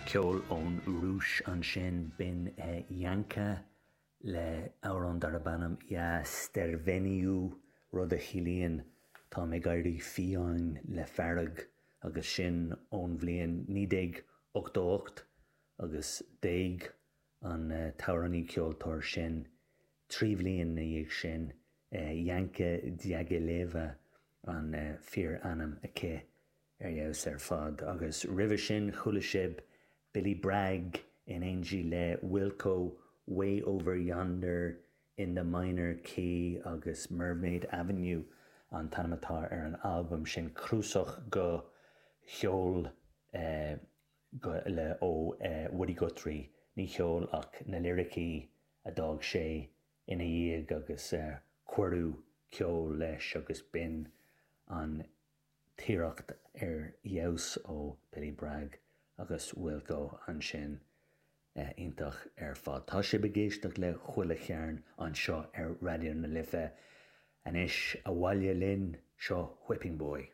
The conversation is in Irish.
Ceol ón Rúis ansin, b'in Yanka le amhrán darb ainm Ya Sterveneyu, rud a chiallaíonn 'táim ag éirí fiáin le fearg' agus sin ón bhliain 1988 agus d'éag an t-amhránaí ceoltóir sin 3 bhliain ina dhiaidh sin, Yanka Diagileva an fíor-ainm aici. Ar fheabhas ar fad. Agus roimhe sin chuala sibh Billy Bragg in éindí le Wilco, Way Over Yonder in the Minor Key agus Mermaid Avenue an t-ainm atá ar an albam sin, cnuasach de cheol le ó Woody Guthrie, ní cheol ach na liricí a d'fhág sé ina dhiaidh agus cuireadh ceol leis agus b'in an t-iarracht ar fheabhas ó Billy Bragg agus Wilco ansin. Iontach ar fad. Tá sibh ag éisteacht le Chuile Chearn anseo ar Raidió na Life. Anois, abhaile linn, seo Whipping Boy.